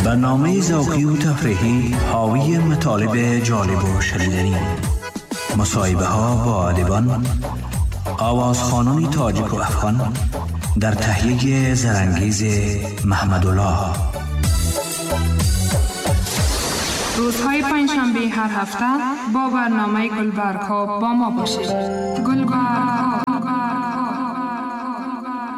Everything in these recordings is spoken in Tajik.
برنامه ذوقی و تفریحی حاوی مطالب جالب و شنیدنی، مصاحبه ها با ادیبان، آوازخوانان تاجیک و افغان در تهیه زرنگیز محمدالله. روزهای پنجشنبه هر هفته با برنامه گلبرگ ها با ما باشید. گلبرگ ها.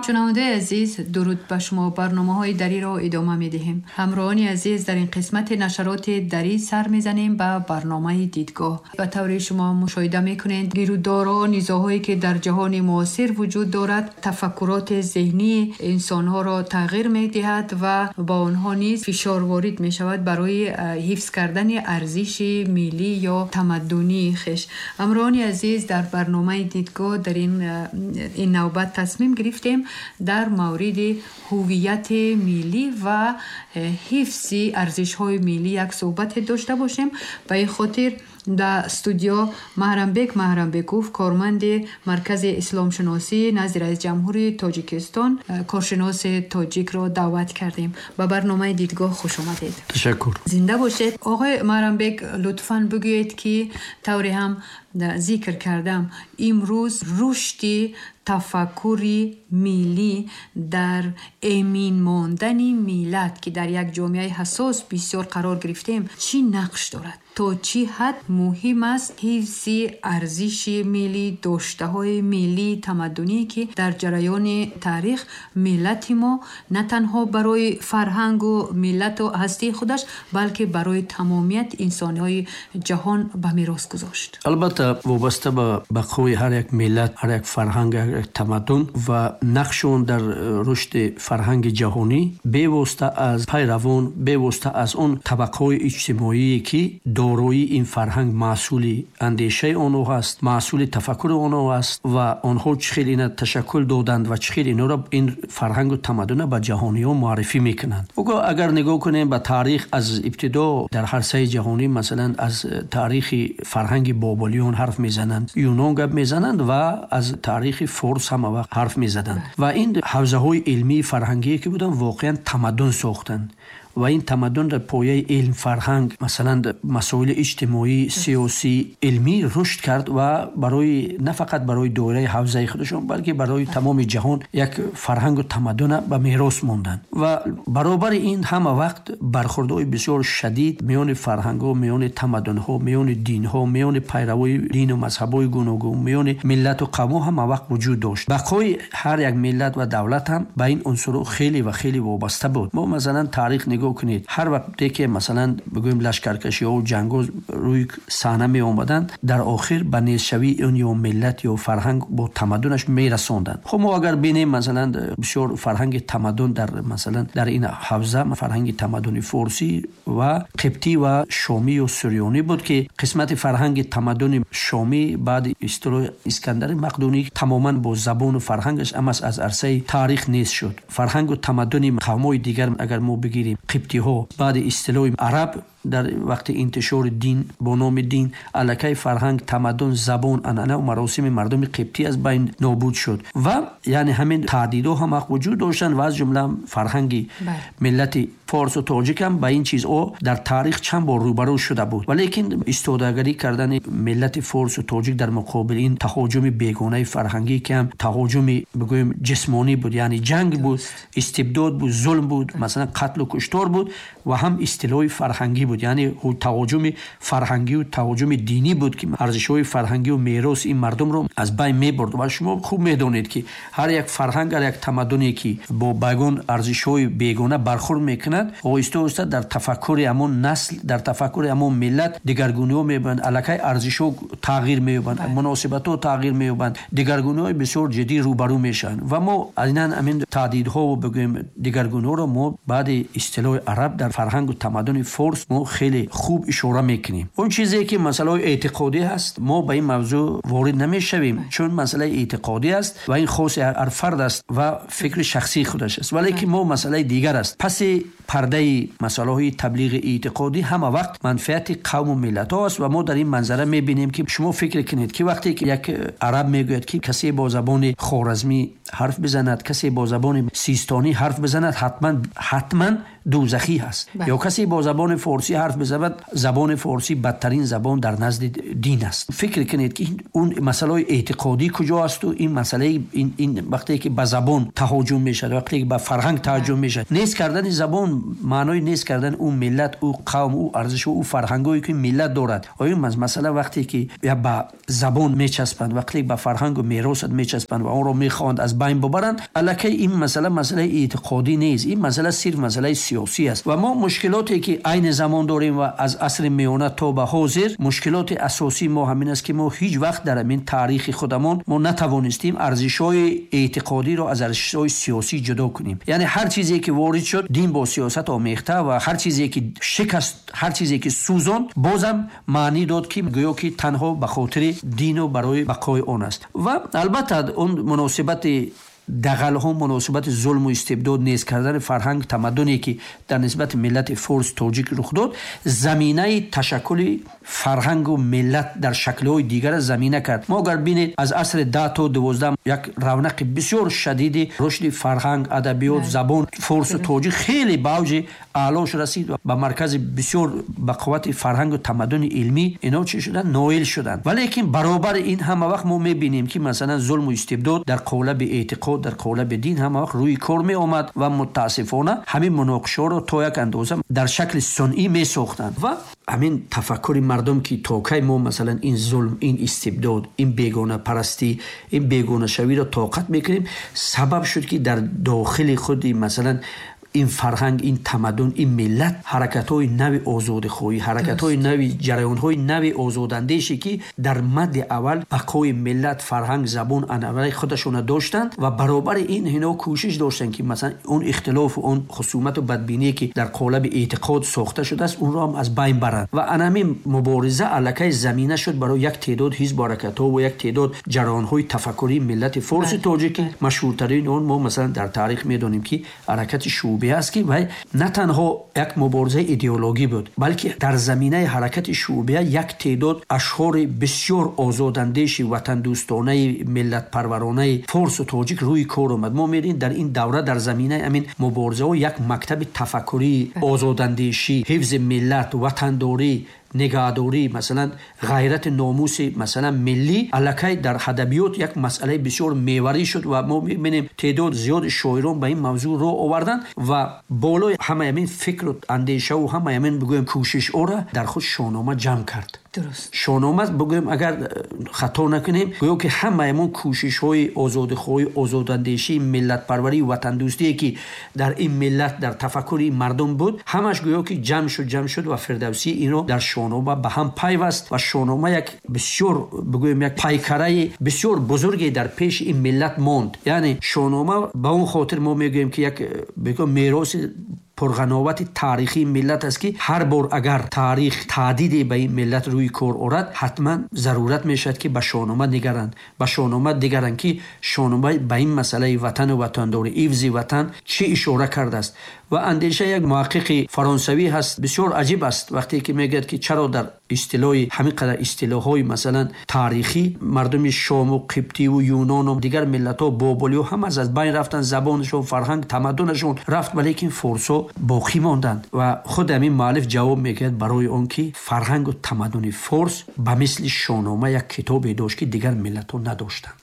شنونده عزیز، درود به شما. برنامه های دری را ادامه می دهیم. همراهان عزیز، در این قسمت نشرات دری سر می زنیم به برنامه دیدگاه. به طور شما مشاهده می کنید گیرودارا، نزاعهایی که در جهان معاصر وجود دارد، تفکرات ذهنی انسان ها را تغییر می دهد و با آنها نیز فشار وارد می شود برای حفظ کردن ارزش ملی یا تمدنی خویش. همراهان عزیز، در برنامه دیدگاه در این نوبت تصمیم گرفتیم در مورد هویت ملی و حفظ ارزش‌های ملی یک صحبت داشته باشیم. به این خاطر در استودیو محرمبек محرمبеков، کارمند مرکز اسلام شناسی نزد رئیس جمهوری تاجیکستان، کارشناس تاجیک را دعوت کردیم. به برنامه دیدگاه خوش آمدید. تشکر. زنده باشید. آقای محرمبек، لطفاً بگویید که طوری هم ذکر کردم، امروز رشد تفکر ملی در امین ماندن ملت که در یک جامعه حساس بسیار قرار گرفتیم چی نقش دارد؟ تا چی حد مهم است حفظ ارزش ملی، داشته های ملی تمدنی که در جریان تاریخ ملت ما نه تنها برای فرهنگ و ملت و هستی خودش، بلکه برای تمامیت انسانهای جهان به میراث گذاشت؟ البته وابسته به بقای هر یک ملت، هر یک فرهنگ، هر یک تمدن و نقش آن در رشد فرهنگ جهانی، بیواسطه از پیروان، بیواسطه از آن طبقه اجتماعی که دارای این فرهنگ مسئول اندیشه آنها هست، مسئول تفکر آنها است و آنها چه خیلی اینا تشکل دادند و چه خیلی اینا را این فرهنگ و تمدن به جهانی ها معرفی میکنند. اگر نگاه کنیم به تاریخ از ابتدا در هر سه جهانی، مثلا از تاریخ فرهنگ بابلیون حرف میزنند، یونان گپ میزنند و از تاریخ فارس هم وقت حرف میزدند و این حوزه های علمی فرهنگی که بودن واقعا تمدن ساختند و این تمدن در پایه علم، فرهنگ، مثلا مسائل اجتماعی، سیاسی، علمی رشد کرد و برای نه فقط برای دوره حوزه خودشون بلکه برای تمام جهان یک فرهنگ و تمدن به میراث ماندند و برابر این همه وقت برخوردهای بسیار شدید میان فرهنگ‌ها، میان تمدن‌ها، میان دین‌ها، میان پیروای دین و مذهب‌های گوناگون، میان ملت و قوم هم وقت وجود داشت. بقای هر یک ملت و دولت هم به این عنصر خیلی و خیلی وابسته بود. ما مثلا تاریخ نگاه کنید، هر وقت که مثلا بگوییم لشکرکشی ها و جنگ ها روی صحنه می آمدند، در آخر به نیستشوی اون یا ملت یا فرهنگ با تمدنش می رساندند. خب ما اگر بینیم مثلا بسیار فرهنگ تمدن در مثلا در این حوزه فرهنگ تمدن فارسی و قبطی و شامی و سریانی بود که قسمت فرهنگ تمدن شامی بعد اصطلاح اسکندر مقدونی تماما با زبان و فرهنگش اما از عرصه تاریخ نیست شد. فرهنگ و تمدن قوم‌های دیگر اگر ما بگیریم، قبطی ها بعد اصطلاح عرب در وقت انتشار دین با نام دین، علاقه فرهنگ، تمدن، زبان، عنعنه و مراسم مردم قبطی از بین نابود شد و یعنی همین تهدیدها هم وجود داشتند و از جمله فرهنگ ملت فارس و تاجیک هم به این چیزها در تاریخ چند بار روبرو شده بود، ولیکن ایستادگی کردن ملت فارس و تاجیک در مقابل این تهاجم بیگانه فرهنگی که هم تهاجم بگوییم جسمانی بود، یعنی جنگ بود، استبداد بود، ظلم بود، مثلا قتل و کشتار بود و هم اصطلاح فرهنگی بود، یعنی تهاجم فرهنگی و تهاجم دینی بود که ارزش‌های فرهنگی و میراث این مردم رو از بین می‌برد. و شما خوب می‌دونید که هر یک فرهنگ، هر یک تمدنی که با بیگان ارزش‌های بیگانه برخورد می‌کند، آهسته آهسته در تفکر همون نسل، در تفکر همون ملت دگرگونی‌ها می‌یابند، علاقه ارزش‌ها تغییر می‌یابند، مناسبت‌ها تغییر می‌یابند، دگرگونی‌های بسیار جدی روبرو میشن و ما عیناً همین تهدیدها و بگوییم دگرگونی‌ها رو ما بعد اصطلاح عرب در فرهنگ و تمدن فارس ما خیلی خوب اشاره میکنیم. اون چیزی که مسئله اعتقادی هست ما به این موضوع وارد نمیشویم، چون مسئله اعتقادی است و این خاص هر فرد است و فکر شخصی خودش است، ولی که ما مسئله دیگر است. پس پرده مسئله های تبلیغ اعتقادی همه وقت منفعت قوم و ملت ها است و ما در این منظره میبینیم که شما فکر کنید که وقتی که یک عرب میگوید که کسی با زبان خوارزمی ҳарф бизанад, касе бо забони систонӣ ҳарф бизанад, ҳатман дӯзахӣ ҳаст. Ё касе бо забони форсӣ ҳарф бизанад, забони форсӣ бадтарин забон дар назди дин аст. Фикр кунед ки он масъалаи эътиқодӣ куҷо аст ва ин масъала ин вақте ки ба забон таҳоҷум мешавад, вақте ки ба фарҳанг таҳоҷум мешавад, нест кардани забон маънои нест кардани он миллат, ӯ қавм, ӯ арзиш ва ӯ фарҳангҳое ки миллат дорад. Оё масъала вақте ки ба забон мечаспанд, вақте ба фарҳанг ва меросат мечаспанд ва онро мехоҳанд аз байн бибаранд, аллакай ин масъала масъалаи эътиқодӣ нест, ин масъала сирф масъалаи сиёсӣ аст. Ва мо мушкилоте ки айни замон дорем ва аз асри миёна то ба ҳозир, мушкилоти асосии мо ҳамин аст ки мо ҳеҷ вақт дар ҳамин таърихи худамон мо натавонистем арзишҳои эътиқодиро аз арзишҳои сиёсӣ ҷудо кунем. Яъне ҳар чизе ки ворид шуд, дин бо сиёсат омехта ва ҳар чизе ки шикаст, ҳар чизе ки сӯзонд, бозам маънӣ дод ки гӯё ки танҳо ба хотири дину барои бақои он аст. Ва албатта он муносибати дағалҳо, муносибати зулму истибдод, нест кардани фарҳанг, тамаддуне ки дар нисбати миллати форс тоҷик рух дод, заминаи ташаккули фарҳангу миллат дар шаклҳои дигар замина кард. Мо агар бинед аз асри 10 то 12 як равнақи бисёр шадиди рушди фарҳанг, адабиёт, забон форсу тоҷик хеле ба авҷи аълош расид ва ба маркази бисёр ба қуввати фарҳангу тамаддуни илмӣ ино чӣ шуданд? Ноил шуданд. Валекин баробари ин ҳама вақт мо мебинем ки масалан зулму истибдод дар қолаби эътиқод, дар қолаби дин ҳама вақт рӯи кор меомад ва мутаассифона ҳамин муноқишаҳоро то як андоза дар шакли сунъӣ месохтанд. Ва ҳамин тафаккури мардум ки то кай мо масалан ин зулм, ин истибдод, ин бегонапарастӣ, ин бегонашавиро тоқат мекунем, сабаб шуд ки дар дохили худи масалан ин фарҳанг, ин тамаддун, ин миллат ҳаракатҳои нави озодихоҳӣ, ҳаракатҳои нави, ҷараёнҳои нави озодандешӣ ки дар мадди аввал бақои миллат, фарҳанг, забон, анъанаи худашонро доштанд ва баробари ин ино кӯшиш доштанд ки масалан он ихтилофу он хусумату бадбиние ки дар қолаби эътиқод сохта шудааст, онро ҳам аз байн баранд. Ва ана ҳамин мубориза аллакай замина шуд барои як теъдод ҳизбу ҳаракатҳо ва як теъдод ҷараёнҳои тафаккурии миллати форси тоҷикӣ. Машҳуртарини он мо масалан дар таърих медонем ки ҳаракати шуъбӣ аст ки вай на танҳо як муборизаи идеологӣ буд, балки дар заминаи ҳаракати шуъбия як теъдод ашъори бисёр озодандеши ватандӯстонаи миллатпарваронаи форсу тоҷик рӯи кор омад. Мо медонем дар ин давра дар заминаи ҳамин муборизаҳо як мактаби тафаккурии озодандешӣ, ҳифзи миллат, ватандорӣ, нигаҳдорӣ, масалан ғайрати номуси масалан миллӣ аллакай дар адабиёт як масъалаи бисёр меварӣ шуд ва мо мебинем теъдод зиёди шоирон ба ин мавзӯъ роҳ оварданд ва болои ҳамаи ҳамин фикру андешаву ҳамаи ҳамин бигӯем кӯшишҳоро дар худ Шоҳнома ҷамъ кард. Шоҳнома бигӯем агар хато накунем, гӯё ки ҳамаи ҳамон кӯшишҳои озодихоҳӣ, озодандешӣ, миллатпарварӣ, ватандӯстие ки дар ин миллат, дар тафаккури мардум буд, ҳамаш гӯё ки ҷамъ шуд, ҷамъ шуд ва Фирдавсӣ инро дар Шоҳнома ба ҳам пайваст ва Шоҳнома як бисёр бигӯем як пайкараи бисёр бузурге дар пеши ин миллат монд. Яъне Шоҳнома ба он хотир мо мегӯем ки як мероси пурғановати таърихии миллат аст ки ҳар бор агар таърих таҳдиде ба ин миллат рӯи кор орад, ҳатман зарурат мешавад ки ба Шоҳнома нигаранд, ба Шоҳнома дигаранд ки Шоҳнома ба ин масъалаи ватану ватандорӣ, ҳифзи ватан чӣ ишора кардааст. Ва андешаи як муҳаққиқи фаронсавӣ ҳаст, бисёр аҷиб аст, вақте ки мегӯяд ки чаро дар истилоҳи ҳамин қадар истилоҳҳои масалан таърихӣ мардуми шому, қибтиву юнону дигар миллатҳо, боболиҳо ҳама аз байн рафтанд, забонашон, фарҳанг, тамаддунашон рафт, валекин форсҳо боқӣ монданд. Ва худ ҳамин муаллиф ҷавоб мегӯяд барои он ки фарҳангу тамаддуни форс ба мисли Шоҳнома як китобе дошт ки дигар миллатҳо надоштанд.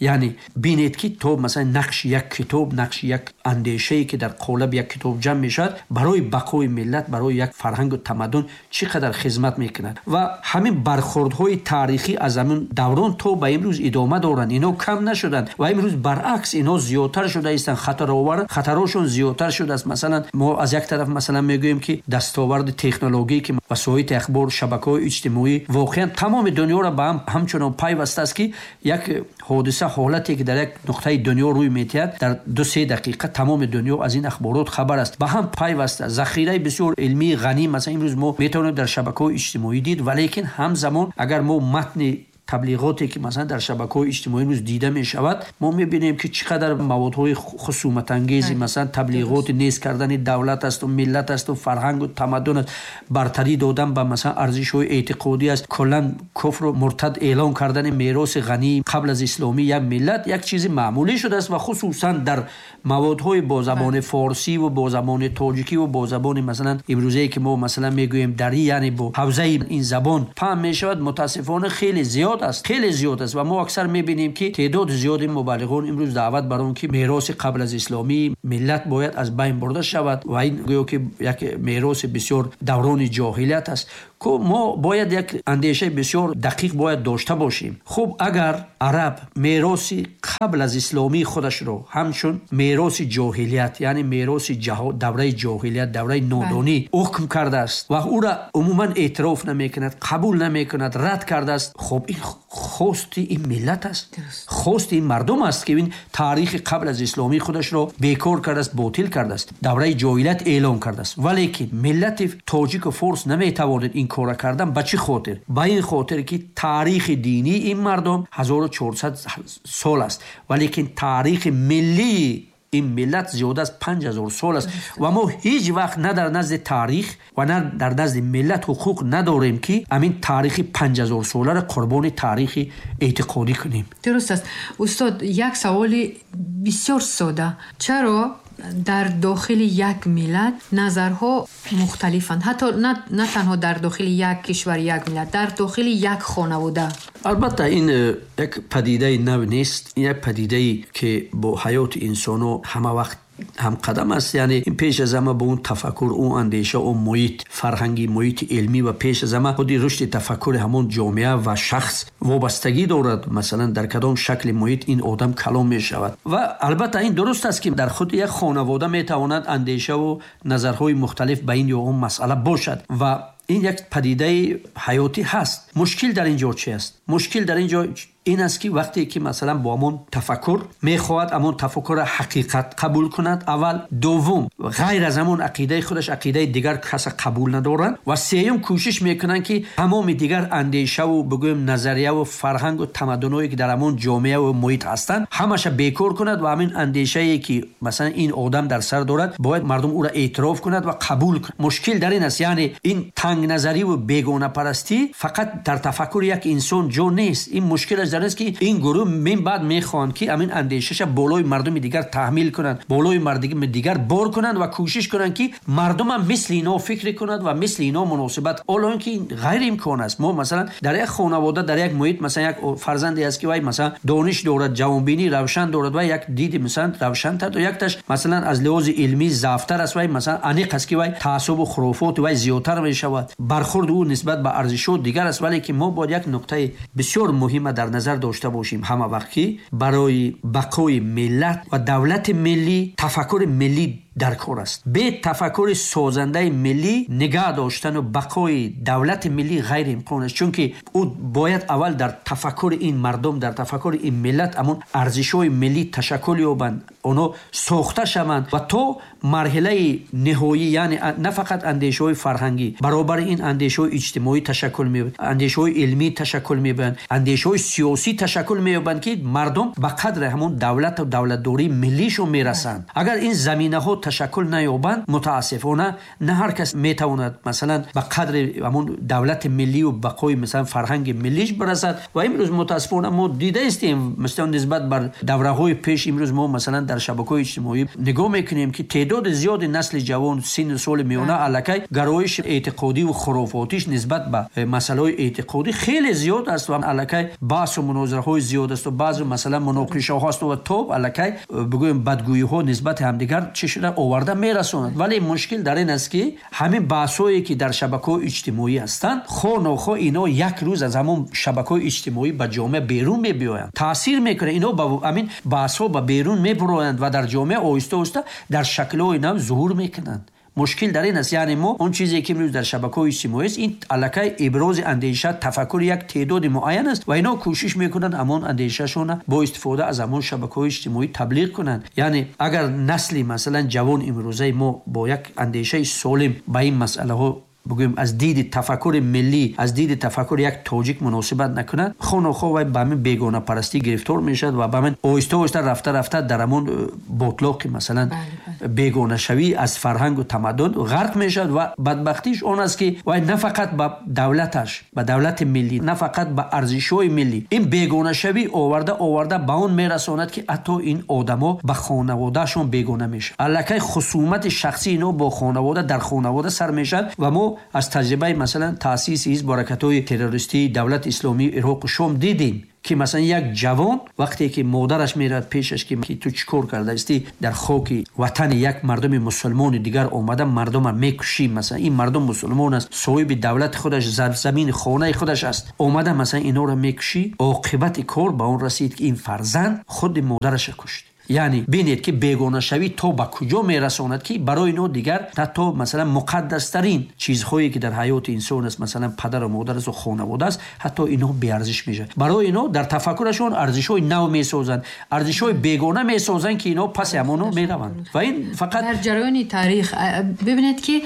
Яъне бинед ки то масалан нақши як китоб, нақши як андешае ки дар қолаби як китоб ҷамъ мешавад, барои бақои миллат, барои як фарҳангу тамаддун чӣ қадар хизмат мекунад. Ва ҳамин бархӯрдҳои таърихӣ аз ҳамин даврон то ба имрӯз идома доранд, ино кам нашуданд ва имрӯз баръакс ино зиёдтар шуда истанд, хатарошон зиёдтар шудааст. Масалан мо аз як тараф масалан мегӯем ки дастоварди технологие ки васоити ахбор, шабакаҳои иҷтимоӣ воқеан тамоми дунёро ба ҳам ҳамчунон пайвастааст ки як ҳодиса, ҳолате ки дар як нуқтаи дунё рӯй метиҳад, дар 2-3 дақиқа тамоми дунё аз ин ахборот хабар аст, ба ҳам пайваста. Захираи бисёр илмии ғанӣ масалан имрӯз мо метавонем дар шабакаҳои иҷтимоӣ дид, валекин ҳамзамон агар мо матни таблиғоте ки масалан дар шабакаҳои иҷтимоӣ имрӯз дида мешавад, мо мебинем ки чӣ қадар маводҳои хусуматангези, масалан таблиғоти нест кардани давлат аст ва миллат аст ва фарҳанг ва тамаддун аст, бартарӣ додан ба масалан арзишҳои эътиқодӣ аст, куллан куфру муртад эълон кардани мероси ғании қабл аз исломӣ як миллат як чизи маъмулӣ шудааст ва хусусан дар маводҳои бо забони форсӣ ва бо забони тоҷикӣ ва бо забони масалан имрӯзае ки мо масалан мегӯем дарӣ, яъне бо ҳавзаи ин забон паҳн мешавад, мутаассифона хеле зиёд аст, хеле зиёд аст ва мо аксар мебинем ки теъдоди зиёди мубаллиғон имрӯз даъват бар он ки мероси қабл аз исломӣ миллат бояд аз байн бурда шавад ва ин гӯё ки як мероси бисёр даврони ҷоҳилият аст. Мо бояд як андешаи бисёр дақиқ бояд дошта бошем. Хуб, агар араб мероси қабл аз исломии худашро ҳамчун мероси ҷоҳилият, яъне мероси давраи ҷоҳилият, давраи нодонӣ ҳукм кардааст ва ӯро умуман эътироф намекунад, қабул намекунад, рад кардааст, хуб ин хости ин миллат аст, хости ин мардум аст ки ин таърихи қабл аз исломии худашро бекор кардааст, ботил кардааст, давраи ҷоҳилият эълон кардааст. Валекин миллати тоҷику форс наметавонад ин кора кардан. Ба чӣ хотир? Ба ин хотир ки таърихи динии ин мардум 1400 сол аст, валекин таърихи миллии ин миллат зиёда аз 5000 сол аст ва мо ҳеҷ вақт на дар назди таърих ва на дар назди миллат ҳуқуқ надорем ки ҳамин таърихи 5000 соларо қурбони таърихи эътиқодӣ кунем. Дуруст аст. Устод, як саволи бисёр сода. Чаро дар дохили як миллат назарҳо мухталифанд? Ҳатто на танҳо дар дохили як кишвар, як миллат, дар дохили як хонавода. Албатта ин як падидаи нав нест, ин як падидае ки бо ҳаёти инсонҳо ҳама вақт ҳамқадам аст. Яъне ин пеш аз ҳама ба он тафаккур, он андеша, он муҳит фарҳангӣ, муҳити илмӣ ва пеш аз ҳама худи рушди тафаккури ҳамон ҷомеа ва шахс вобастагӣ дорад. Масалан дар кадом шакли муҳит ин одам калон мешавад. Ва албатта ин дуруст аст ки дар худи як хонавода метавонад андешаву назарҳои мухталиф ба ин ё он масъала бошад ва ин як падидаи ҳаётӣ ҳаст. Мушкил дар ин ҷо чи аст? Мушкил дар ин ҷо ин аст ки вақте ки масалан бо ҳамон тафаккур мехоҳад ҳамон тафаккурро ҳақиқат қабул кунад аввал, дуввум ғайр аз ҳамон ақидаи худаш ақидаи дигар каса қабул надоранд ва сеюм кӯшиш мекунанд ки тамоми дигар андешаву бигӯем назарияву фарҳангу тамаддунҳое ки дар ҳамон ҷомеаву муҳит ҳастанд ҳамаша бекор кунад ва ҳамин андешае ки масалан ин одам дар сар дорад бояд мардум ӯро эътироф кунад ва қабул кунад. Мушкил дар ин аст, яъне ин тангназариву бегонапарастӣ фақат дар тафаккури як инсон ҷо нест. Ин мушкилаш дар аст ки ин гурӯҳ мин баъд мехоҳанд ки ҳамин андешаша болои мардуми дигар таҳмил кунанд, болои мардуми дигар бор кунанд ва кӯшиш кунанд ки мардумам мисли ино фикр кунад ва мисли ино муносибат. Ҳоло ин ки ғайриимкон аст. Мо масалан дар як хонавода, дар як муҳит масалан як фарзанде аст ки вай масалан дониш дорад, ҷавонбинӣ равшан дорад ва як диди масалан равшантар дорад, якташ масалан аз лиҳози илмӣ заъфтар аст, вай масалан аниқ аст ки вай таассубу хурофоти вай зиёдтар мешавад, бархурди ӯ нисбат ба арзишҳо дигар аст. Вале ки мо бояд як нуқтаи бисёр муҳима дар назар дошта бошем ҳама вақт ки барои бақои миллат ва давлати миллӣ тафаккури миллӣ дар кор аст. Бе тафаккури созандаи миллӣ нигаҳ доштану бақои давлати миллӣ ғайриимкон аст, чунки ӯ бояд аввал дар тафаккури ин мардум, дар тафаккури ин миллат ҳамон арзишҳои миллӣ ташаккул ёбанд, онҳо сохта шаванд ва то марҳилаи ниҳоӣ, яъне на фақат андешаҳои фарҳангӣ, баробари ин андешаҳои иҷтимоӣ ташаккул меёбанд, андешаҳои илмӣ ташаккул меёбанд, андешаҳои сиёсӣ ташаккул меёбанд ки мардум ба қадри ҳамон давлату давлатдории миллишон мерасанд. Агар ин заминаҳо ташаккул наёбанд, мутаассифона на ҳар кас метавонад масалан ба қадри ҳамон давлати миллию бақои масалан фарҳанги миллиш бирасад. Ва имрӯз мутаассифона мо дидаистем масалан нисбат бар давраҳои пеш имрӯз мо масалан дар шабакаҳои иҷтимоӣ нигоҳ мекунем ки теъдоди зиёди насли ҷавон синну соли миёна аллакай гароиши эътиқодиву хурофотиш нисбат ба масъалаҳои эътиқодӣ хеле зиёд аст ва аллакай баҳсу мунозираҳои зиёд аст ва баъзе масалан муноқишаҳо аст ва то аллакай бигӯем бадгӯиҳо нисбати ҳамдигар чӣ шуда оварда мерасонад. Вале мушкил дар ин аст ки ҳамин баҳсҳое ки дар шабакаҳои иҷтимоӣ ҳастанд, хоҳ нохоҳ ино як рӯз аз ҳамон шабакаҳои иҷтимоӣ ба ҷомеа берун мебиёянд, таъсир мекунанд. Ино ба ҳамин баҳсҳо ба берун мебуроянд ва дар ҷомеа оҳиста оҳиста дар шаклҳои нав зуҳур мекунанд. Мушкил дар ин аст, яъне мо он чизе ки имрӯз дар шабакаҳои иҷтимоӣ аст, ин аллакай ибрози андеша, тафаккури як теъдоди муайян аст ва ино кӯшиш мекунанд ҳамон андешашонро бо истифода аз ҳамон шабакаҳои иҷтимоӣ таблиғ кунанд. Яъне агар насли масалан ҷавон имрӯзаи мо бо як андешаи солим ба ин масъалаҳо بگویم از دید تفکر ملی، از دید تفکر یک تاجیک مناسبت نکند، خانوخواه وای به همین بیگانه پرستی گرفتار میشد و به همین آهسته آهسته رفته رفته در همون باطلاق مثلا بیگانه شوی از فرهنگ و تمدن غرق میشد. و بدبختیش آن است که وای نه فقط به دولتش، به دولت ملی، نه فقط به ارزش‌های ملی، این بیگانه شوی آورده آورده به آن میرساند که حتی این آدما به خانواده‌شون بیگانه میشه. الکی خصومت شخصی اینو با خانواده در خانواده سر میشد. و ما از تجربه مثلا تاسیس حزب حرکت‌های تروریستی دولت اسلامی عراق و شام دیدیم که مثلا یک جوان وقتی که مادرش میرد پیشش که تو چیکار کرده استی در خاک وطن یک مردم مسلمان دیگر آمده مردم میکشی، مثلا این مردم مسلمان است، صاحب دولت خودش، زمین خانه خودش است، آمده مثلا اینا رو میکشی، عاقبت کار به اون رسید که این فرزند خود مادرش کشت. یعنی ببینید که بیگانه شوی تا به کجا میرساند که برای اینو دیگر حتی مثلا مقدس ترین چیزهایی که در حیات انسان است، مثلا پدر و مادر است و خانواده است، حتی اینها بی ارزش میشه. برای اینو در تفکرشون ارزش‌های نو میسازن، ارزش‌های بیگانه میسازن که اینها پس همونو میروند. و این فقط در جریان تاریخ ببینید که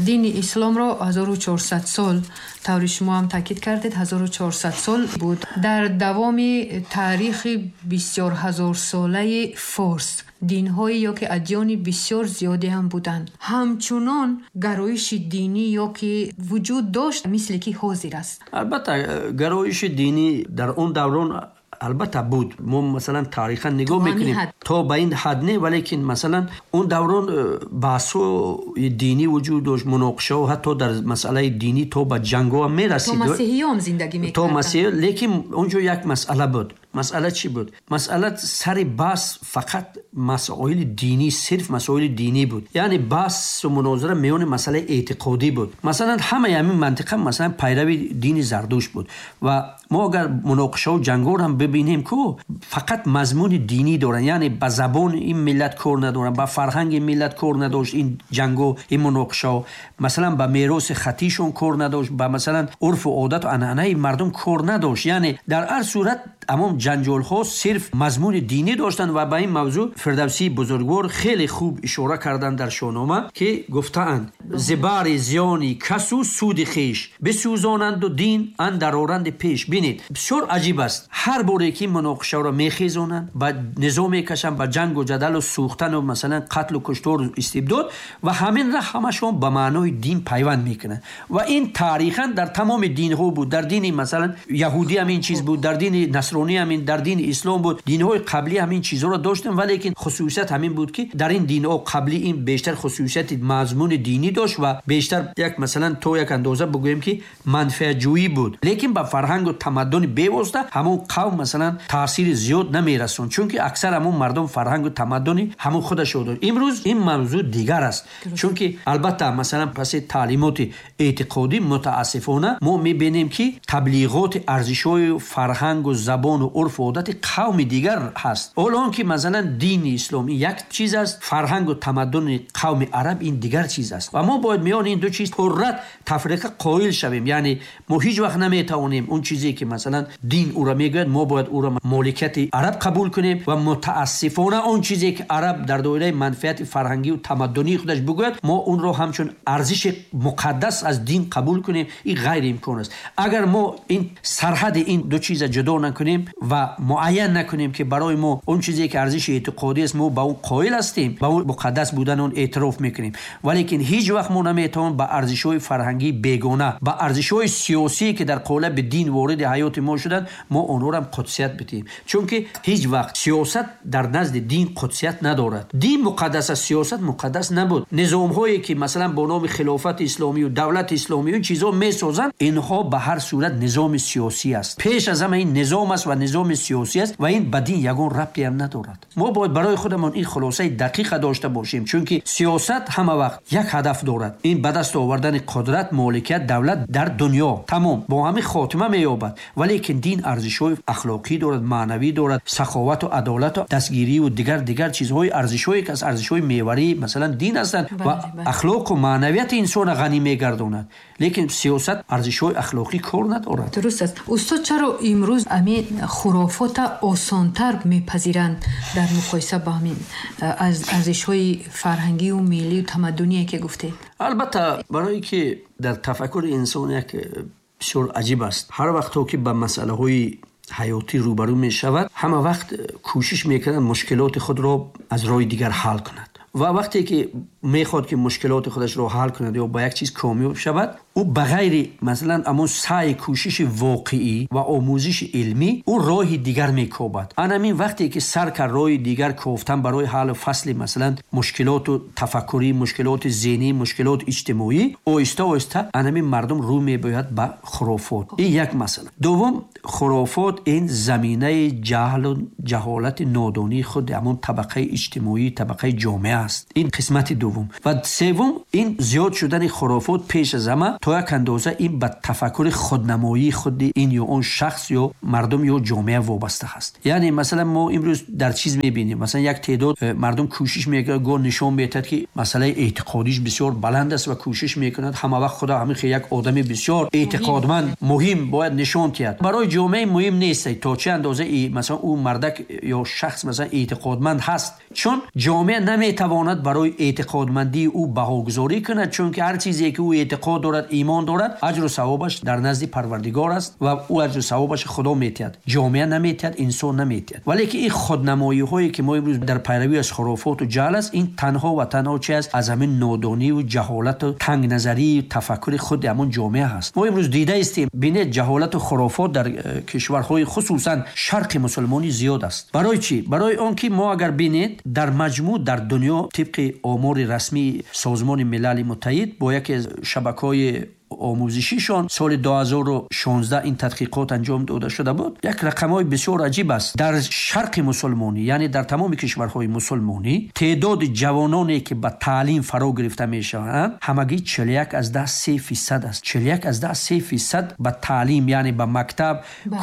دین اسلام را 1400 سال، طوری شما هم تاکید کردید، 1400 سال بود. در دوام تاریخ بسیار هزار ساله فارس دین‌های یا که ادیان بسیار زیادی هم بودند، همچنان گرایش دینی یا که وجود داشت مثل که حاضر است. البته گرایش دینی در اون دوران البته بود، ما مثلا تاریخا نگاه میکنیم تا به این حد نه، ولیکن مثلا اون دوران بحث دینی وجود داشت، مناقشه و حتی در مسئله دینی تا به جنگ هم میرسید، تا مسیحی هم زندگی میکردن، تا مسیحی. لیکن اونجا یک مسئله بود. مسئله چی بود؟ مسئله سر بحث فقط مسائل دینی، صرف مسائل دینی بود. یعنی بحث و مناظره میان مسئله اعتقادی بود. مثلا همه همین منطقه مثلا پیرو دین زردوش بود و ما اگر مناقشه و جنگ هم ببینیم که فقط مضمون دینی دارن، یعنی به زبان این ملت کار ندارن، به فرهنگ این ملت کار نداشت این جنگ و این مناقشه، مثلا به میراث خطیشون کار نداشت، به مثلا عرف و عادت و عنعنه مردم کار نداشت. یعنی در هر صورت امام جنجال ها صرف مضمون دینی داشتند و به این موضوع فردوسی بزرگوار خیلی خوب اشاره کردن در شاهنامه که گفتند زبر زیانی کسو سود خیش بسوزانند و دین اندر آرند پیش. بینید بسیار عجیب است، هر باری که مناقشه را میخیزانند با نزاع میکشند، با جنگ و جدل و سوختن و مثلا قتل و کشتار و استبداد و همین را همشون به معنای دین پیوند میکنند و این تاریخا در تمام دین ها بود. در دین مثلا یهودی هم این چیز بود، در دین نصرانی همین، در دین اسلام بود، دین‌های قبلی همین چیزها را داشتن، ولیکن خصوصیت همین بود که در این دین‌ها قبلی این بیشتر خصوصیت مضمون دینی داشت و بیشتر یک مثلا تو یک اندازه بگوییم که منفعت جویی بود، لیکن با فرهنگ و تمدن بی‌واسطه همون قوم مثلا تاثیر زیاد نمی‌رسون، چون که اکثر همون مردم فرهنگ و تمدنی همون خودش داشت. امروز این موضوع دیگر است، چون که البته مثلا پس تعلیمات اعتقادی متاسفانه ما می‌بینیم که تبلیغات ارزش‌های فرهنگ و زبان و عرف و عادت قوم دیگر هست. اولان که مثلا دین اسلامی یک چیز است، فرهنگ و تمدن قوم عرب این دیگر چیز است و ما باید میان این دو چیز پررد تفریق قائل شویم. یعنی ما هیچ وقت نمیتوانیم اون چیزی که مثلا دین او را میگوید ما باید او را مالکیت عرب قبول کنیم و متاسفانه اون چیزی که عرب در دایره منفعت فرهنگی و تمدنی خودش بگوید ما اون را همچون ارزش مقدس از دین قبول کنیم، این غیر امکان است. اگر ما این سرحد این دو چیز جدا نکنیم و معین نکنیم که برای ما اون چیزی که ارزش اعتقادی است ما با اون قائل هستیم، با اون مقدس بودن اون اعتراف میکنیم، ولیکن هیچ وقت ما نمیتونیم با ارزش‌های فرهنگی بیگانه، با ارزش‌های سیاسی که در قالب دین وارد حیات ما شدن ما اونها را قدسیت بدیم، چون که هیچ وقت سیاست در نزد دین قدسیت ندارد. دین مقدس است، سیاست مقدس نبود. نظام‌هایی که مثلا با نام خلافت اسلامی و دولت اسلامی و چیزا میسازن، اینها به هر صورت نظام سیاسی است. پیش از همه این نظام است و نظام سیاسی است و این به دین یگان ربطی هم ندارد. ما باید برای خودمان این خلاصه دقیق داشته باشیم، چون که سیاست همه وقت یک هدف دارد، این به دست آوردن قدرت، مالکیت، دولت در دنیا، تمام با همین خاتمه می‌یابد. ولیکن دین ارزش‌های اخلاقی دارد، معنوی دارد، سخاوت و عدالت و دستگیری و دیگر چیزهای ارزش‌هایی که از ارزش‌های محوری مثلا دین هستند و اخلاق و معنویت انسان غنی می‌گرداند. لیکن سیاست ارزش‌های اخلاقی کار ندارد. درست است. استاد چرا امروز همین خرافات آسان‌تر می‌پذیرند در مقایسه با همین از ارزش‌های فرهنگی و ملی و تمدنی که گفته؟ Албатта, барои ки дар тафаккури инсон як бисёр аҷиб аст. Ҳар вақто ки ба масъалаҳои ҳаётӣ рӯбарӯ мешавад, ҳама вақт кӯшиш мекунад мушкилоти худро аз роҳи дигар ҳал кунад. Ва вақте ки мехоҳад ки мушкилоти худашро ҳал кунад ё ба як чиз комёб шавад, ӯ ба ғайри масалан ҳамон саъй кӯшиши воқеӣ ва омӯзиши илмӣ, ӯ роҳи дигар мекобад. Ан ҳамин вақте ки сар кард роҳи дигар кофтан барои ҳаллу фасли масалан мушкилоту тафаккурӣ, мушкилоти зеҳнӣ, мушкилоти иҷтимоӣ, оҳиста оҳиста ан ҳамин мардум рӯ мебояд ба хурофот. Ин як масъала. Дуввум, хурофот ин заминаи ҷаҳлу ҷаҳолати нодонии худи ҳамон табақаи иҷтимоӣ, табақаи ҷомеа аст. Ин қисмати дуввум. Ва севум, ин зиёд шудани хурофот пеш аз ҳама то як андоза ин ба тафаккури худнамоии худи ин ё он шахс ё мардум ё ҷомеа вобаста ҳаст. Яъне масалан мо имрӯз дар чиз мебинем, масалан як теъдод мардум кӯшиш мекунад, гоҳ нишон медиҳад ки масъалаи эътиқодиш бисёр баланд аст ва кӯшиш мекунад ҳама вақт худо ҳамин як одами бисёр эътиқодманд муҳим бояд нишон диҳад. Барои ҷомеа муҳим нест то чӣ андоза масалан ӯ мардак ё шахс масалан эътиқодманд ҳаст, чун ҷомеа наметавонад барои эътиқодмандии ӯ баҳогузорӣ кунад, чунки ҳар чизе ки ӯ эътиқод дорад, имон дорад, аҷру савобаш дар назди Парвардигор аст ва ӯ аҷру савобаш Худо метиҳад, ҷомеа наметиҳад, инсон наметиҳад. Вале ки ин худнамоиҳое ки мо имрӯз дар пайравӣ аз хурофоту ҷаҳл аст, ин танҳо ва танҳо чи аст? Аз ҳамин нодониву ҷаҳолату тангназарии тафаккури худи ҳамон ҷомеа ҳаст. Мо имрӯз дида истем, бинед, ҷаҳолату хурофот дар кишварҳои хусусан шарқи мусулмонӣ зиёд аст. Барои чӣ? Барои он ки мо агар бинед дар маҷмӯъ дар дунё тибқи омори расмии Созмони Милали Муттаҳид бо яке аз шабакаҳои омӯзишишон соли 2016 ин тадқиқот анҷом дода шуда буд, як рақамҳои бисёр аҷиб аст. Дар шарқи мусулмонӣ, яъне дар тамоми кишварҳои мусулмонӣ, теъдоди ҷавононе ки ба таълим фаро гирифта мешаванд ҳамагӣ 41.3% аст. 41.3% ба таълим, яъне ба мактаб,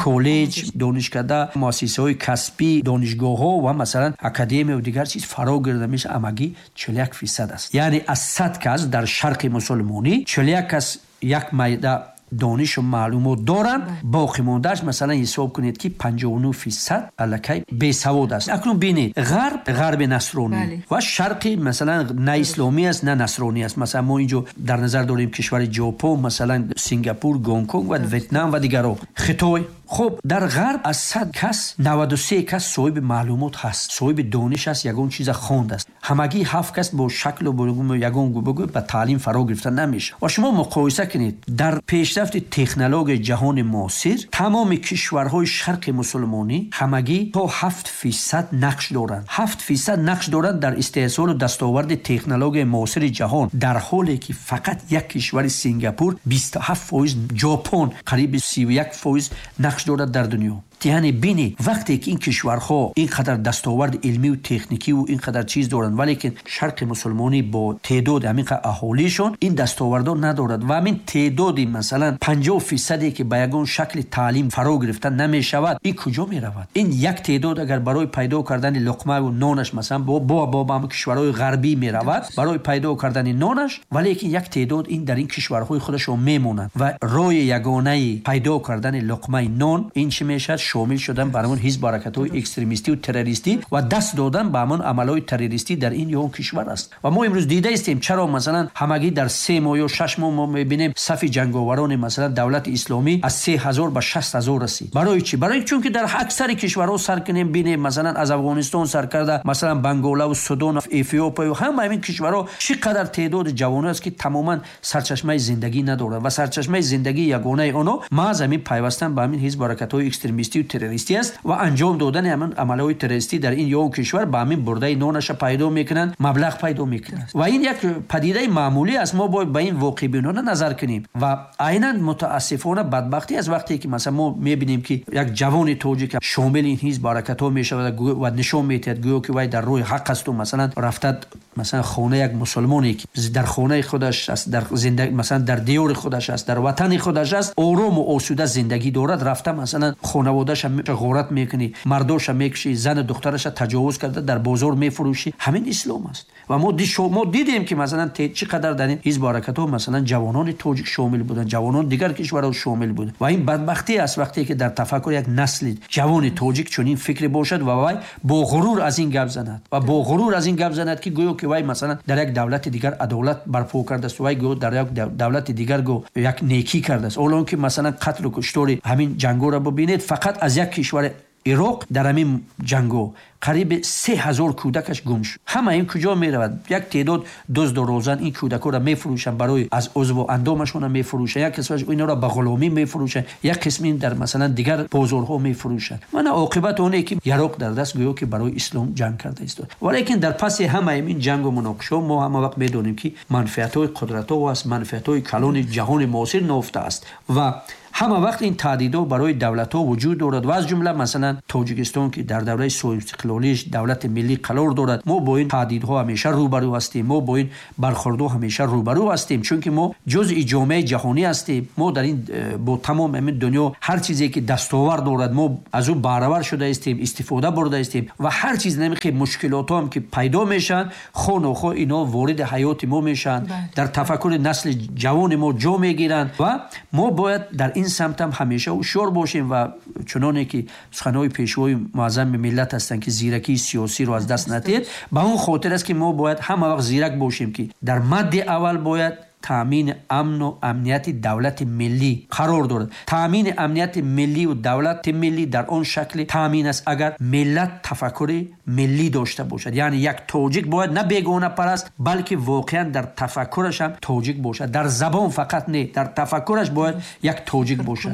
коллеҷ, донишкада, муассисаҳои касбӣ, донишгоҳҳо ва масалан академия ва дигар чиз фаро гирифта мешаванд, ҳамагӣ 41% аст. Яъне аз 100 кас дар шарқи мусулмонӣ 41 кас як майда донишу маълумот доранд, боқӣ мондааш масалан ҳисоб кунед ки 59% аллакай бесавод аст. Акнун бинед, ғарб, ғарби насронӣ ва шарқи масалан на исломӣ аст, на насронӣ аст. Масалан мо инҷо дар назар дорем кишвари Ҷопон, масалан Сингапур, Гонконг ва Ветнам ва дигарҳо, Хитой. Хуб, дар ғарб аз 100 кас 93 кас соҳиби маълумот ҳаст, соҳиби дониш аст, ягон чиза хонд аст. Ҳамагӣ 7 кас бо шаклу ягон губагӯ ба таълим фаро гирифта намешавад. Ва шумо муқоиса кунед, дар пешрафти технологияи ҷаҳони муосир тамоми кишварҳои шарқи мусулмонӣ ҳамагӣ то 7% нақш доранд. 7% нақш доранд дар истеҳсолу дастоварди технологияи муосири ҷаҳон, дар ҳоле ки фақат як кишвари Сингапур 27%, Ҷопон қариби 31% нақш дорад дар дунё. Яъне бинед, вақте ки ин кишварҳо ин қадар дастоварди илмию техникиву ин қадар чиз доранд, валекин шарқи мусулмонӣ бо теъдоди ҳамин қадар аҳолиашон ин дастовардҳо надорад ва ҳамин теъдоди масалан 50% ки ба ягон шакли таълим фаро гирифта намешавад, ин куҷо меравад? Ин як теъдод агар барои пайдо кардани луқмаву нонаш масалан бо ҳамин кишварҳои ғарбӣ меравад барои пайдо кардани нонаш, валекин як теъдод ин дар ин кишварҳои худашон мемонад ва роҳи ягонаи пайдо кардани луқмаи нон ин чӣ мешавад? Шомил шудан ба ҳамон ҳизб ҳаракатҳои экстремистию террористӣ ва даст додан ба ҳамон амалҳои террористӣ дар ин ё он кишвар аст. Ва мо имрӯз дида истем, чаро масалан ҳамагӣ дар 3 моҳ ё 6 моҳ мо мебинем сафи ҷанговарони масалан давлати исломӣ аз 3000 ба 6000 расид. Барои чӣ? Барои чунки дар аксари кишварҳо сар кунем бинем, масалан аз Афғонистон сар карда масалан Бангола ва Судон, Эфиопия ва ҳама ҳамин кишварҳо чӣ қадар теъдоди ҷавонон аст ки тамоман сарчашмаи зиндагӣ надоранд ва сарчашмаи зиндагии ягонаи онҳо маҳз ҳамин пайвастан ба ҳамин ҳизб ҳаракатҳои экстремистию террористӣ аст ва анҷом додани ҳамин амалҳои террористӣ дар ин ё он кишвар ба ҳамин бурдаи нонаша пайдо мекунанд, маблағ пайдо мекунанд. Ва ин як падидаи маъмулӣ аст. Мо бояд ба ин воқеъбинона назар кунем ва айнан мутаассифона бадбахтӣ аст вақте ки масалан мо мебинем ки як ҷавони тоҷик шомили ин ҳизб ҳаракатҳо мешавад ва нишон медиҳад гӯё ки вай дар роҳи ҳақ асту масалан рафтад масалан хонаи як мусулмоне ки дар хонаи худаш аст, дар зиндагӣ масалан дар диёри худаш аст, дар ватани худаш аст, орому осуда зиндагӣ дорад, рафта масалан хонаводаи хонаводаша ғорат мекунӣ, мардоша мекушӣ, зану духтараша таҷовуз карда дар бозор мефурӯшӣ. Ҳамин ислом аст. Ва мо дидем, ки масалан чӣ қадар дар ин ҳизбу ҳаракатҳо масалан ҷавонони тоҷик шомил буданд, ҷавонони дигар кишварҳо шомил буданд. Ва ин бадбахтӣ аст вақте ки дар тафаккур як насли ҷавони тоҷик чунин фикре бошад ва вай бо ғурур аз ин гап занад ва бо ғурур аз ин гап занад, ки гӯё ки вай масалан дар як давлати дигар адолат барпо кардааст, вай гӯё дар як давлати дигар гӯ як некӣ кардааст. Ҳоло он ки масалан қатлу куштори ҳамин ҷангоро бибинед, фақат аз як кишвари Ироқ дар ҳамин ҷанго қариби 3000 кӯдакаш гум шуд. Ҳама ин куҷо меравад? Як теъдод дузду розан ин кӯдакҳоро мефурӯшанд, барои аз узву андомашонро мефурӯшанд, як қисмаш инҳоро ба ғуломӣ мефурӯшанд, як қисми ин дар масалан дигар бозорҳо мефурӯшанд. Мана оқибат оне ки яроқ дар даст гӯё ки барои ислом ҷанг карда истод. Валекин дар паси ҳамаи ин ҷангу муноқишаҳо мо ҳама вақт медонем, ки манфиатҳои қудратҳо аст, манфиатҳои калони ҷаҳони муосир нофта аст ва ҳама вақт ин таҳдидҳо барои давлатҳо вуҷуд дорад ва аз ҷумла масалан Тоҷикистон, ки дар давраи соҳибистиқлолиш давлати миллӣ қарор дорад, мо бо ин таҳдидҳо ҳамеша рӯбарӯ ҳастем, мо бо ин бархӯрдҳо ҳамеша рӯбарӯ ҳастем, чунки мо ҷузъи ҷомеаи ҷаҳонӣ ҳастем. Мо дар ин бо тамом ҳамин дунё ҳар чизе ки дастовард дорад, мо аз ӯ баҳравар шуда истем, истифода бурда истем ва ҳар чиз намехе мушкилотҳо ҳам ки пайдо мешаванд, хонохо ино вориди ҳаёти мо мешаванд, дар тафаккури насли ҷавони мо ҷо мегиранд ва мо бояд дар ин самт ҳам ҳамеша ҳушёр бошем. Ва чуноне ки суханҳои пешвои муаззами миллат ҳастанд, ки зиракии сиёсиро аз даст надиҳед, ба он хотир аст, ки мо бояд ҳама вақт зирак бошем, ки дар мадди аввал бояд таъмини амну амнияти давлати миллӣ қарор дорад. Таъмини амнияти миллию давлати миллӣ дар он шакли таъмин аст, агар миллат тафаккури миллӣ дошта бошад. Яъне як тоҷик бояд на бегонапараст, балки воқеан дар тафаккураш ҳам тоҷик бошад. Дар забон фақат не, дар тафаккураш бояд як тоҷик бошад,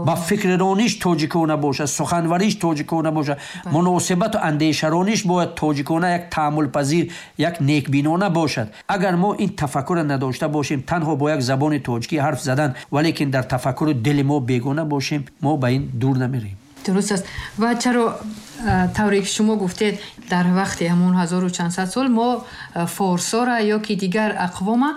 ба фикррониш тоҷикона бошад, суханвариш тоҷикона бошад, муносибату андешарониш бояд тоҷикона, як таъаммулпазир, як некбинона бошад. Агар мо ин тафаккурро надошта бошем, танҳо бо як забони тоҷикӣ ҳарф задан, валекин дар тафаккуру дили мо бегона бошем, мо ба ин дур намерем. Дуруст аст. Ва чаро тавре ки шумо гуфтед, дар вақти ҳамон ҳазору чандсад сол мо форсора ё ки дигар ақвома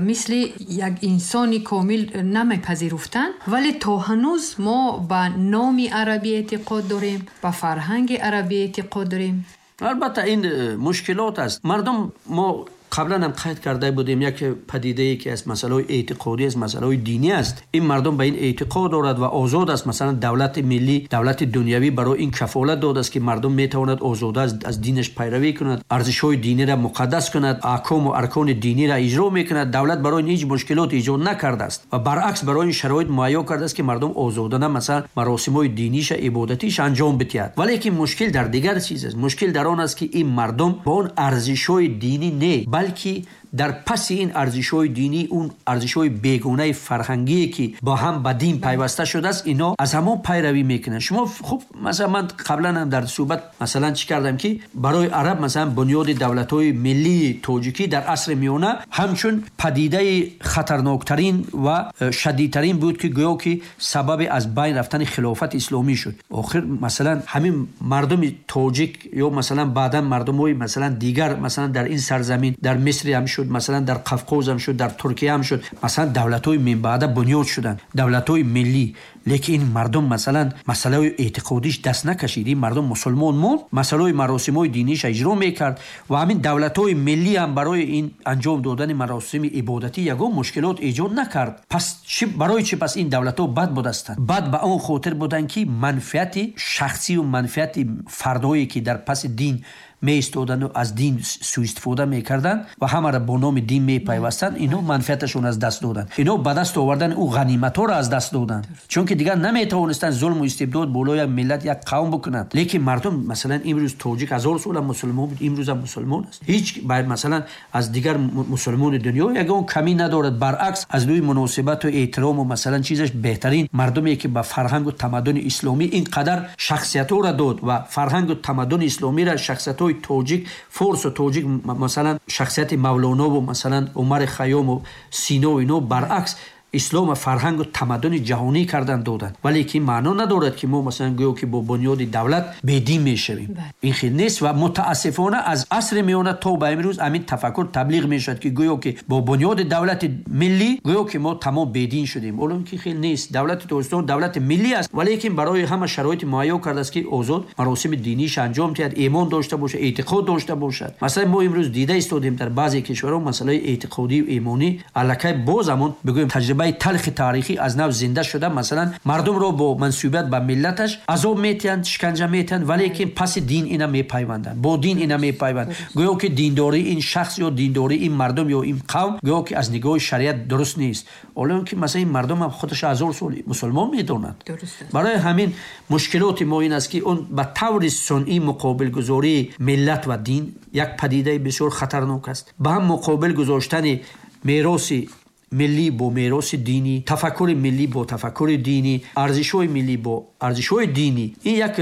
мисли як инсони комил намепазируфтанд, вале то ҳанӯз мо ба номи арабӣ эътиқод дорем, ба фарҳанги арабӣ эътиқод дорем? Албатта ин мушкилот аст. Мардум мо қаблан ҳам қайд карда будем, як падидае ки аз масъалаҳои эътиқодӣ аст, масъалаҳои динӣ аст. Ин мардум ба ин эътиқод дорад ва озод аст. Масалан давлати миллӣ, давлати дунявӣ барои ин кафолат додааст, ки мардум метавонад озода аз динаш пайравӣ кунад, арзишҳои диниро муқаддас кунад, аҳкому аркони диниро иҷро мекунад. Давлат барои ин ҳеҷ мушкилот эҷод накардааст ва баръакс барои ин шароит муҳайё кардааст, ки мардум озодона масалан маросимҳои диниша, ибодатиша анҷом бидиҳад. Валекин мушкил дар дигар чиз аст. Мушкил дар он аст, ки ин мардум ба он арзишҳои динӣ не, балки дар паси ин арзишҳои динӣ он арзишҳои бегонаи фарҳангие ки бо ҳам ба дин пайваста шудааст, ино аз ҳамон пайравӣ мекунанд. Шумо хуб, масалан ман қаблан ҳам дар суҳбат масалан чӣ кардам, ки барои араб масалан бунёди давлатҳои миллии тоҷикӣ дар асри миёна ҳамчун падидаи хатарноктарин ва шадидтарин буд, ки гӯё ки сабаби аз байн рафтани хилофати исломӣ шуд. Охир масалан ҳамин мардуми тоҷик ё масалан баъдан мардумҳои масалан дигар, масалан дар ин сарзамин, дар Миср ҳам шуд, масалан дар Қавқоз ҳам шуд, дар Туркия ҳам шуд, масалан давлатҳои минбаъда бунёд шуданд, давлатҳои миллӣ. Лекин ин мардум масалан масъалаҳои эътиқодиш даст накашид. Ин мардум мусулмон монд, масъалаҳои маросимҳои диниша иҷро мекард ва ҳамин давлатҳои миллӣ ҳам барои ин анҷом додани маросими ибодатӣ ягон мушкилот эҷод накард. Пас барои чӣ пас ин давлатҳо бад будастанд? Бад ба он хотир буданд, ки манфиати шахсию манфиати фардое ки дар паси дин меистоданду аз дин суистифода мекарданд ва ҳамаро бо номи дин мепайвастанд, ино манфиаташон аз даст доданд, ино ба даст овардани ӯ ғаниматҳоро аз даст доданд, чунки дигар наметавонистанд зулму истибдод болои як миллат, як қавм бикунанд. Лекин мардум масалан имрӯз тоҷик ҳазор сола мусулмон буд, имрӯзам мусулмон аст. Ҳеҷ масалан аз дигар мусулмони дунё ягон камӣ надорад. Баръакс аз рӯи муносибату эҳтирому масалан чизаш беҳтарин мардуме ки ба фарҳангу тамаддуни исломӣ ин қадар шахсиятҳоро дод ва фарҳангу тамаддуни исломиро шахсиятҳои тоҷик, форсу тоҷик, масалан шахсияти Мавлонову масалан Умари Хайёму Сино, ино баръакс ислом фарҳанг ва тамаддуни ҷаҳонӣ кардан доданд. Вале ки маъно надорад ки мо масалан гӯё ки бо бунёди давлат бедин мешавем. Ин хел нест ва мутаассифона аз асри миёна то ба имрӯз ҳамин тафаккур таблиғ мешавад ки гӯё ки бо бунёди давлати миллӣ гӯё ки мо тамом бедин шудем. Ҳоло ки хел нест. Давлати Тоҷикистон давлати миллӣ аст, валекин барои ҳама шароити муҳайё кардааст ки озод маросими диниш анҷом диҳад, имон дошта бошад, эътиқод дошта бошад. Масалан мо имрӯз дида истодем дар баъзе кишварҳо масъалаи эътиқодӣ ва имонӣ аллакай боз ҳамон бигӯем таҷрибаи талхи таърихӣ аз нав зинда шуда, масалан мардумро бо мансубият ба миллаташ азоб метиҳанд, шиканҷа метиҳанд, валекин паси дин ина мепайванданд, бо дин ина мепайванд. Гӯё ки диндории ин шахс ё диндории ин мардум ё ин қавм гӯё ки аз нигоҳи шариат дуруст нест. Ҳоло ки масалан ин мардум ҳам худаш ҳазор сол мусулмон медонад. Барои ҳамин мушкилоти мо ин аст ки он ба таври сунъӣ муқобилгузории миллат ва дин як падидаи бисёр хатарнок аст. Ба ҳам муқобил гузоштани мероси миллӣ бо мероси динӣ, тафаккури миллӣ бо тафаккури динӣ, арзишҳои миллӣ бо арзишҳои динӣ, ин як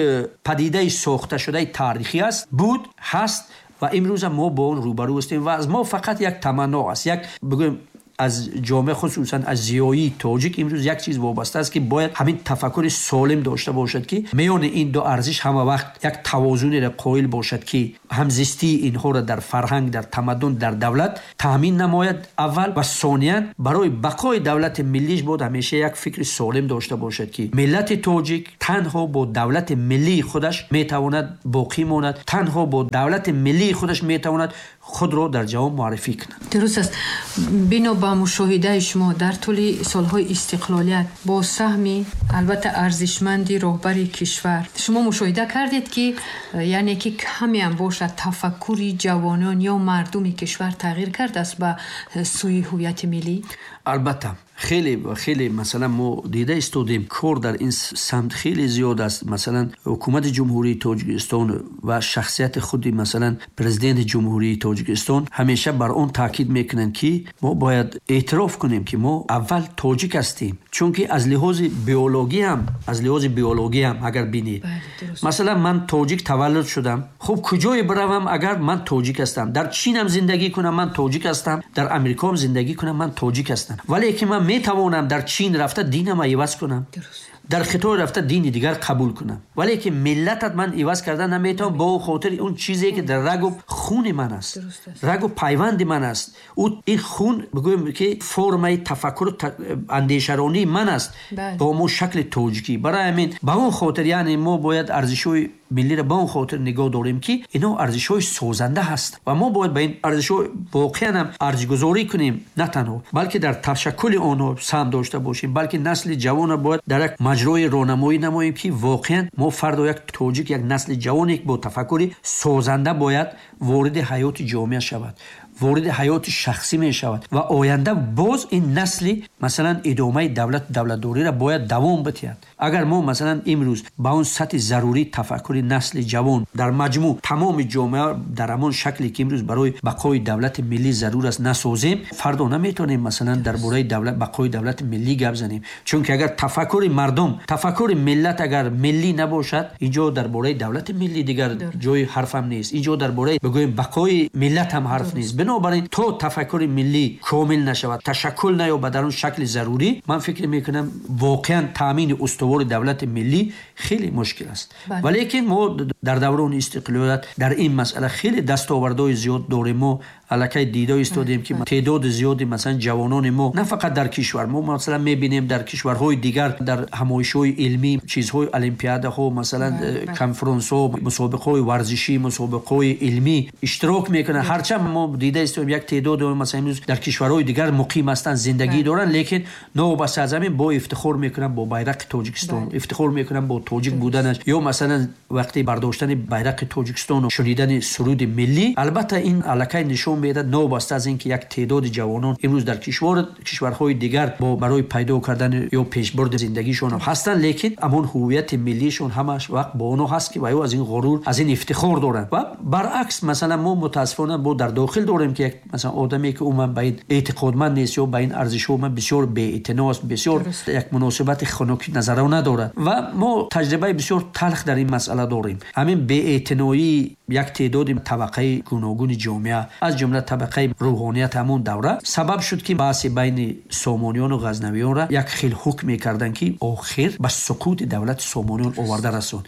падидаи сохташудаи таърихӣ аст, буд, ҳаст ва имрӯза мо бо он рӯбарӯ ҳастем ва аз мо фақат як таманно аст, як бигӯем аз ҷомеа, хусусан аз зиёии тоҷик имрӯз як чиз вобаста аст ки бояд ҳамин тафаккури солим дошта бошад ки миёни ин ду арзиш ҳама вақт як тавозунеро қоил бошад ки ҳамзистии инҳоро дар фарҳанг, дар тамаддун, дар давлат таъмин намояд аввал ва сониян барои бақои давлати миллиш бояд ҳамеша як фикри солим дошта бошад ки миллати тоҷик танҳо бо давлати миллии худаш метавонад боқӣ монад, танҳо бо давлати миллии худаш метавонад худро дар ҷаҳон муаррифӣ кунад. Дуруст аст. Бино ба мушоҳидаи шумо дар тӯли солҳои истиқлолият бо саҳми албатта арзишманди роҳбари кишвар шумо мушоҳида кардед ки яъне ки камеам бошад тафаккури ҷавонон ё мардуми кишвар тағйир кардааст ба сӯи ҳувияти миллӣ? Албатта хеле хеле масалан мо дида истодем, кор дар ин самт хеле зиёд аст. Масалан ҳукумати Ҷумҳурии Тоҷикистон ва шахсияти худи масалан президенти Ҷумҳурии Тоҷикистон ҳамеша бар он таъкид мекунанд ки мо бояд эътироф кунем ки мо аввал тоҷик ҳастем, чунки аз лиҳози биологӣ ҳам агар бинед, масалан ман тоҷик таваллуд шудам, хуб куҷое биравам агар ман тоҷик ҳастам, дар Чинам зиндагӣ кунам ман тоҷик ҳастам, дар Амрикоам зиндагӣ кунам ман тоҷик ҳастам, вале ки ман метавонам дар Чин рафта динам иваз кунам, дар Хитой рафта дини дигар қабул кунам, вале ки миллатат ман иваз карда наметавонам бо хотири он чизе ки дар рагу хуни ман аст, рагу пайванди ман аст. Ин хун бигӯем ки формаи тафаккуру андешаронии ман аст бо мо шакли тоҷикӣ. Барои ҳамин ба он хотир яъне мо бояд арзишҳои миллиро ба он хотир нигоҳ дорем ки инҳо арзишҳои созанда ҳастанд ва мо бояд ба ин арзишҳо воқеан ҳам арзишгузорӣ кунем, на танҳо балки дар ташаккули онҳо саҳм дошта бошем, балки насли ҷавонро бояд дар як маҷрои роҳнамоӣ намоем ки воқеан мо фардо як тоҷик, як насли ҷавоне бо тафаккури созанда бояд вориди ҳаёти ҷомеа шавад, вориди ҳаёти шахсӣ мешавад ва оянда боз ин насли масалан идомаи давлатдориро бояд давом бидиҳад. Агар мо масалан имрӯз ба он сатҳи зарурии тафаккури насли ҷавон дар маҷмӯъ тамоми ҷомеа дар ҳамон шакле ки имрӯз барои бақои давлати миллӣ зарур аст насозем, фардо наметавонем масалан дар бораи бақои давлати миллӣ гап занем. Чунки агар тафаккури мардум, тафаккури миллат агар миллӣ набошад, инҷо дар бораи давлати миллӣ дигар ҷои ҳарфам нест, инҷо дар бораи бигӯем бақои миллат ҳам ҳарф нест. Бинобар ин то тафаккури миллӣ комил нашавад, ташаккул наёбад дар он шакли зарурӣ, ман фикр мекунам воқеан таъмини устувори давлати миллӣ хеле мушкил аст. Валекин мо дар даврони истиқлолият дар ин масъала хеле дастовардҳои зиёд дорем. Мо аллакай дида истодем ки теъдоди зиёди масалан ҷавонони мо на фақат дар кишвар, мо масалан мебинем дар кишварҳои дигар дар ҳамоишҳои илмӣ, чизҳои олимпиадаҳо, масалан конференсҳо, мусобиқаҳои варзишӣ, мусобиқаҳои илмӣ иштирок мекунанд. Ҳарчанд мо дида истодем як теъдоди масалан имрӯз дар кишварҳои дигар муқим ҳастанд, зиндагӣ доранд, лекин новобаста аз ҳамин бо ифтихор мекунанд бо байрақи Тоҷикистон, ифтихор мекунанд бо тоҷик буданаш. Ё масалан вақти бардоштани байрақи Тоҷикистону шунидани суруди миллӣ, албатта ин аллакай нишон медиҳад новобаста аз ин ки як теъдоди ҷавонон имрӯз дар кишварҳои дигар бо барои пайдо кардани ё пешбурди зиндагишон ҳастанд, лекин ҳамон ҳувияти миллиашон ҳамаш вақт бо онҳо ҳаст ки ва ё аз ин ғурур, аз ин ифтихор доранд. Ва баръакс масалан мо мутаассифона бо дар дохил дорем Дорем ки як масалан одаме ки умуман ба ин эътиқодманд нест ё ба ин арзишҳо умуман бисёр беэътино аст, бисёр як муносибати хунукӣ назаро надорад. Ва мо таҷрибаи бисёр талх дар ин масъала дорем. Ҳамин беэътиноии як теъдоди табақаи гуногуни ҷомеа, аз ҷумла табақаи рӯҳоният ҳамон давра, сабаб шуд, ки баҳси байни сомониёну ғазнавиёнра як хел ҳукм мекарданд, ки охир ба суқути давлати сомониён оварда расонд.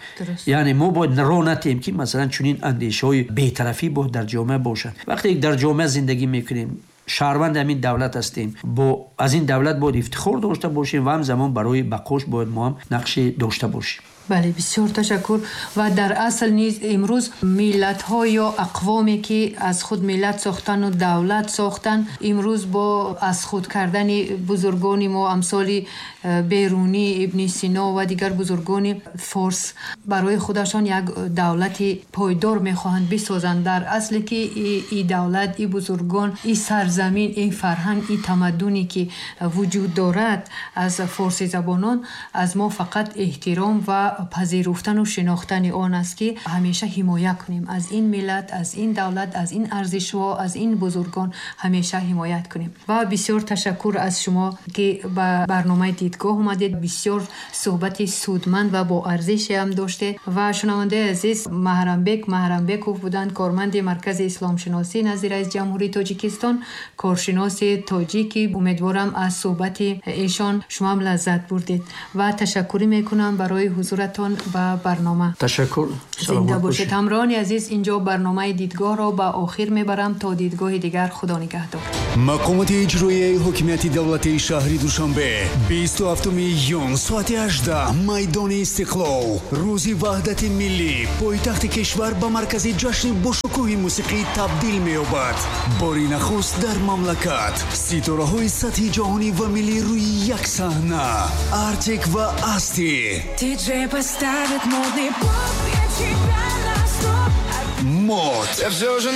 Яъне мо бояд роҳ натиҳем, ки масалан чунин андешаҳои бетарафӣ бояд дар ҷомеа бошад. Вақте дар ҷомеа зиндагӣ мекунем, шаҳрванди ҳамин давлат ҳастем, бо аз ин давлат бояд ифтихор дошта бошем ва ҳамзамон барои бақош бояд мо ҳам нақше дошта бошем. Бале, бисёр ташаккур. Ва дар асл низ имрӯз миллатҳо ё ақвоме, ки аз худ миллат сохтану давлат сохтан, имрӯз бо аз худ кардани бузургони мо, амсоли Берунӣ, Ибни Сино ва дигар бузургони форс, барои худашон як давлати пойдор мехоҳанд бисозанд. Дар асле ки и давлат, и бузургон, и сарзамин, ин фарҳанг, и тамаддуне, ки вуҷуд дорад аз форсизабонон, аз мо фақат эҳтиром ва пазируфтану шинохтани он аст, ки ҳамеша ҳимоя кунем аз ин миллат, аз ин давлат, аз ин арзишҳо, аз ин бузургон ҳамеша ҳимоят кунем. Ва бисёр ташаккур аз шумо, ки ба барномаи «Дидгоҳ» омадед. Бисёр суҳбати судманд ва боарзише ҳам доштед. Ва шунавандаи азиз, Маҳрамбек Маҳрамбеков буданд, корманди Маркази исломшиносӣ назди раиси ҷумҳурии Тоҷикистон, коршиноси тоҷикӣ. Умедворам, аз суҳбати эшон шумоам лаззат бурдед ва ташаккурӣ мекунам барои ҳузуратон ба барнома. Ташаккур. Зинда бошед. Ҳамроҳони азиз, инҷо барномаи «Дидгоҳро» ба охир мебарам. То дидгоҳи дигар, Худо нигаҳдор. Мақомоти иҷроияи ҳокимияти давлатии шаҳри Душанбе, 27 июн, соати 18, майдони Истиқлол. Рӯзи ваҳдати миллӣ. Пойтахти кишвар ба маркази ҷашни бошукӯҳи мусиқӣ табдил меёбад. Бори нахуст дар мамлакат ситораҳои сатҳи ҷаҳонӣ ва миллӣ рӯи як саҳна: Артик ва Асти. Диджей поставит модный поп, я тебя на стоп. Мод. Я все же